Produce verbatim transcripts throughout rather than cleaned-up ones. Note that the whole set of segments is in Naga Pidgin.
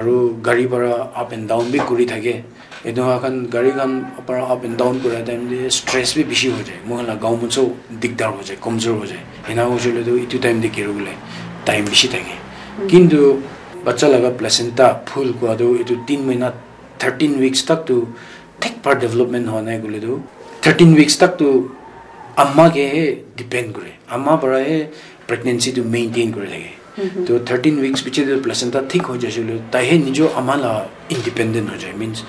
Aru gari para up and down bi kuri thake. Etu khan gari khan para up and down kura time te stress bi bishi ho jai. Moi khan la gaon manso digdar ho jai, kamjor ho jai. Ena hoise le tu etu time te kiri bole time bishi thake. Kintu bacha laga placenta phul kua tu etu tin mahina, thirteen weeks tak tu thik par development hoa nai koile tu thirteen weeks tak tu ama ke he depend kore. Ama para he pregnancy tu maintain kuri thake. To thirteen weeks piche tu placenta thik hoi jaise le, tai he nijor ama la independent hoi jai. Means,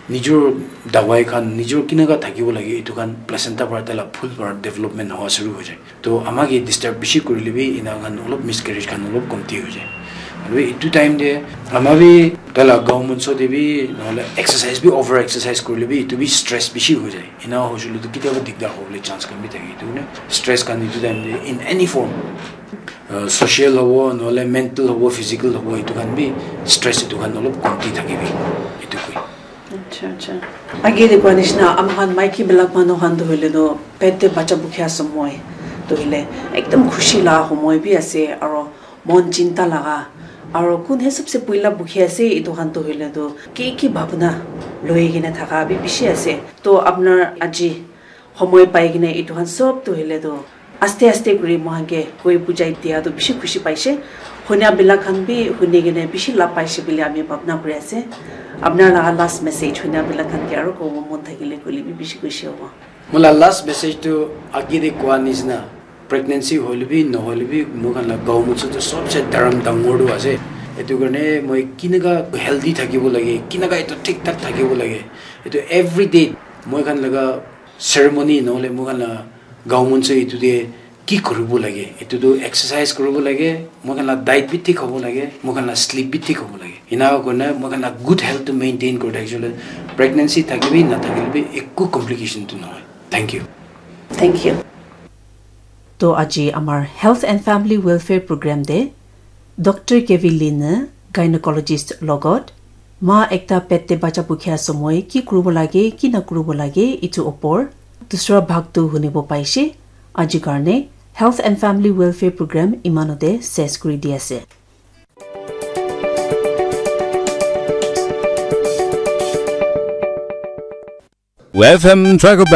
nijor dawai khan, nijor kinaka thakibo lage, etu khan placenta para tai la phul para development hoa shuru hoi jai. To ama ke disturb bishi kurile bi ena khan olop miscarriage khan olop komti hoi jai. Aru etu time te ama bi tai la gaon manso te bi, nohole exercise bi, over exercise kurile bi, etu bi stress bishi hoi jai. Ena hoise le tu kitiaba digdar hobole chance khan bi thake. Etu karne stress khan etu time te in any form, uh, social hobo, nohole mental hobo, physical hobo, etu khan bi stress etu khan olop komti thake bi. Etu koi. Acha, acha. Age de kua nishina, ama khan maiki bilak manu khan tu hoile tu pet te bacha bukhia samoi tu hoile ekdam khushi la homoi bi ase, aro mon chinta laga, aro kun he sabse puila bukhi ase, etu khan tu hoile tu ki ki bhabna loi kena thaka bi bishi ase. To apnar aji homoi pai kena etu khan sob tu hoile tu aste aste kuri moi khan ke koi bujai dia tu bishi khushi paise. Hunia bilak khan bi huni kena bishi lab paise bili ami bhabna kuri ase. Apnar laga last message hunia bilak khan ke aro kobo mon thakile koile bi bishi khushi hobo. Moi la last message tu age de kua nishina, pregnancy hoile bi nohole bi moi khan la gaon manso tu sobse dharam dangor tu ase. Etu karne moi kinaka healthy thakibo lage, kinaka etu thik thak thakibo lage, etu everyday moi khan laga ceremony nohole moi khan la gaon manso etu te ki kuribo lage? Etu tu exercise kuribo lage, moi khan la diet bi thik hobo lage, moi khan la sleep bi thik hobo lage. Ena kurina moi khan la good health tu maintain kuri thakishe le, pregnancy thakibi nathakile bi ekku complication tu nohoi. Thank you. Thank you. To aji amar Health and Family Welfare Program de Doctor Kevin Lin, gynecologist logot, ma ekta pet te bacha bukhia somoi ki kuribo lage, ki na kuribo lage, itu opor dusra bhag tu hunibo paishe. Aji karne Health and Family Welfare Program imanote ses kuri di ase. F M Tracker